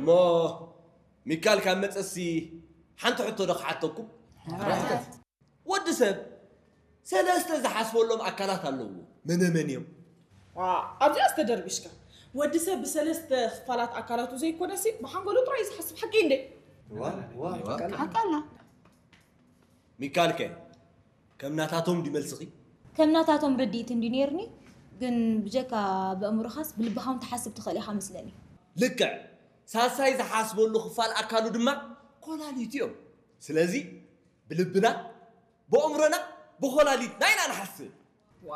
እሞ ሚካል ካብ መጸሲ ሓንቲ ሕቶ ዶ ክሓተኩም? ወዲ ሰብ ሰለስተ ዝሓስበሎም ኣካላት ኣለዎ። መነ መን እዮም? ኣብዚኣ ዝተደርቢሽካ። ወዲ ሰብ ብሰለስተ ክፋላት ኣካላቱ ዘይኮነሲ ብሓንጎሉ ጥራይ እዩ ዝሓስብ። ሓቂ እንዴ? ሓቃላ። ሚካልከ ከም ናታቶም ድዩ መልስኺ? ከም ናታቶም ርድኢት እንዲ ነይርኒ፣ ግን ብጀካ ብእምሮኻስ ብልብኻ እውን ትሓስብ ትኽእል ኢኻ መስለኒ። ልክዕ። ሳሳይ ዝሓስበሉ ክፋል ኣካሉ ድማ ኮላሊት እዮም። ስለዚ ብልብና፣ ብእምሮና፣ ብኮላሊትና ኢና ንሓስብ። ዋ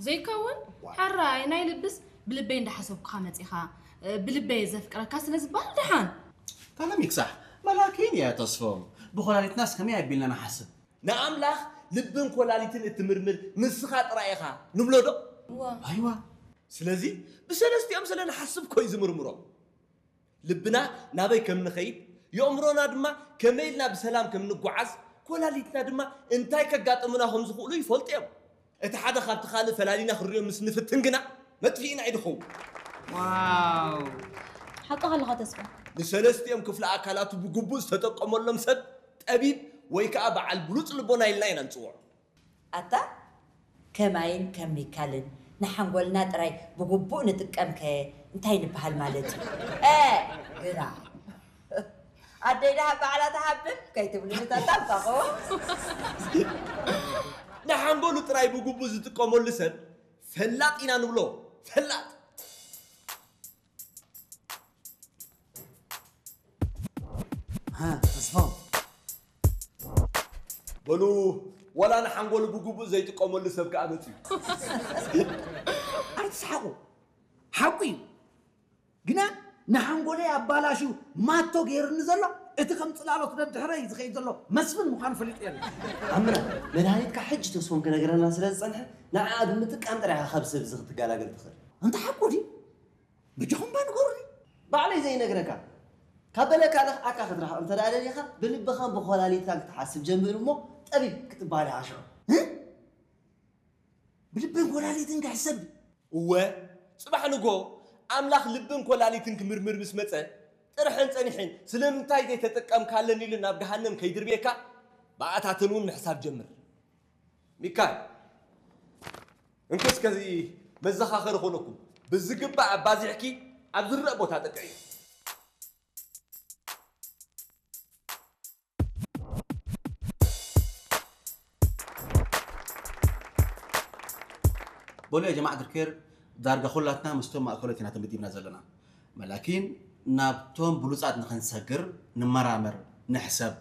ዘይከውን። ሕራይ ናይ ልብስ ብልበይ እንዳሓሰብኩኻ መፂኻ፣ ብልበይ ዘፍቅረካ ስለ ዝበሃል ደሓን። ታና ሚክሳሕ መላኪን እያ ተስፎም። ብኮላሊትናስ ከመይ ኣቢልና ንሓስብ? ንኣምላኽ ልብን ኮላሊትን እትምርምር ንስኻ ጥራይ ኢኻ ንብሎ ዶ? ኣይዋ። ስለዚ ብሰለስቲኦም ስለ ንሓስብ ኮይ ዝምርምሮም። ልብና ናበይ ከም ንኸይድ፣ የእምሮና ድማ ከመይ ኢልና ብሰላም ከም ንጓዓዝ፣ ኮላሊትና ድማ እንታይ ከጋጥሙና ከም ዝኽእሉ ይፈልጡ እዮም። እቲ ሓደ ካብቲ ካልእ ፈላሊና ክንሪኦ ምስ ንፍትን ግና መጥፊእና እዩ ድኸውን። ዋው ሓቅኻ ኣለኻ ተስፋ። ንሰለስቲኦም ክፍለ ኣካላቱ ብግቡእ ዝተጠቀመሎም ሰብ ጠቢብ ወይ ከዓ በዓል ብሉፅ ልቦና ኢልና ኢና ንፅውዖ። ኣታ ከማይን ከም ሚካልን ንሓንጎልና ጥራይ ብግቡእ ንጥቀም ከ እንታይ ንበሃል ማለት እዩ? እ ግራ ኣደይ ደሃብ ባዕላ ትሃብን ከይትብሉ ንተጠንቀቑ። ንሓንጎሉ ጥራይ ብግቡእ ዝጥቀመሉ ሰብ ፈላጥ ኢና ንብሎ። ፈላጥ። ተስፋው በሉ ዋላ ንሓንጎሉ ብግቡእ ዘይጥቀመሉ ሰብ ከኣ መፅዩ። ኣይትስሓቑ፣ ሓቁ እዩ። ግና ንሓንጎለይ ኣባላሽዩ ማቶ ገይሩኒ ዘሎ እቲ ከም ፅላሎት ደድሕረይ ዝኸይድ ዘሎ መስፍን ምዃኑ ፈሊጠ ኣለኹ። ኣምና መድሃኒትካ ሕጂ ተስፎም ክነግረና ስለ ዝጸንሐ ንዓኣ ብምጥቃም ጥራይ ኢኻ ካብ ሰብ እዚ ክትገላገል ትኽእል። ኣንታ ሓቁ ድዩ? በጃኹም እባ ንገሩኒ። ባዕለይ ዘይነግረካ ካብ በለካ ንኽዓካ ክትረሕቕ እንተ ደኣ ደሊኻ ብልብኻን ብኾላሊትካን ክትሓስብ ጀምር እሞ ጠቢብ ክትበሃል ኢኻ ሽዑ። ብልብን ኮላሊትን ክሕሰብ። እወ ጽባሕ ንግሆ ኣምላኽ ልብን ኮላሊትን ክምርምር ምስ መጸ ጥርሕን ጸኒሕን ስለምንታይ ዘይተጠቀምካለን ኢሉ ናብ ገሃነም ከይድርብየካ ብኣታትን እውን ምሕሳብ ጀምር። ሚካል እንኪ እስከዚ መዘኻኸሪ ኾነኩም ብዝግባእ ኣባዚሕኪ ኣብ ዝረእ ቦታ ጠቅዕዮ። በሉ ያ ጀማዓት ልከይር ዳርጋ ኩላትና ምስቶም ማእከሎት ኢና ተመዲብና ዘለና መላኪን ናብቶም ብሉጻት ንኸንሰግር ንመራመር ንሕሰብ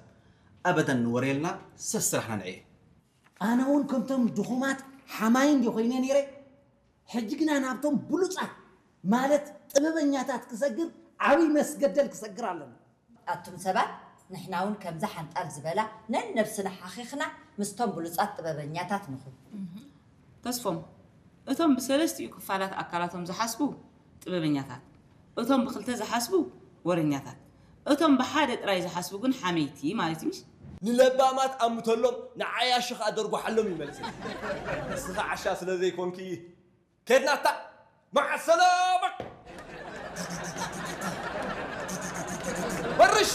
ኣበደን ንወረየልና ሰስራሕና ንዕየ ኣነ እውን ከምቶም ድኹማት ሓማይ እንዲ ኮይነ ነይረ ሕጂ ግና ናብቶም ብሉጻት ማለት ጥበበኛታት ክሰግር ዓብይ መስገደል ክሰግር ኣለኒ ኣቱም ሰባት ንሕና እውን ከምዛ ሓንጣል ዝበላ ነንነብስና ሓኺኽና ምስቶም ብሉጻት ጥበበኛታት ንኹን። ተስፎም እቶም ብሰለስቲኡ ክፋላት ኣካላቶም ዝሓስቡ ጥበበኛታት፣ እቶም ብኽልተ ዝሓስቡ ወረኛታት፣ እቶም ብሓደ ጥራይ ዝሓስቡ ግን ሓመይቲ ማለት እዩ ምሽ? ንለባማት ኣምተሎም ንዓያሹ ኸኣ ደርጓሓሎም እዩ መልሲ። ንስኺ ዓሻ ስለ ዘይኮንኪ ከድናታ መዓ ሰላማ በርሽ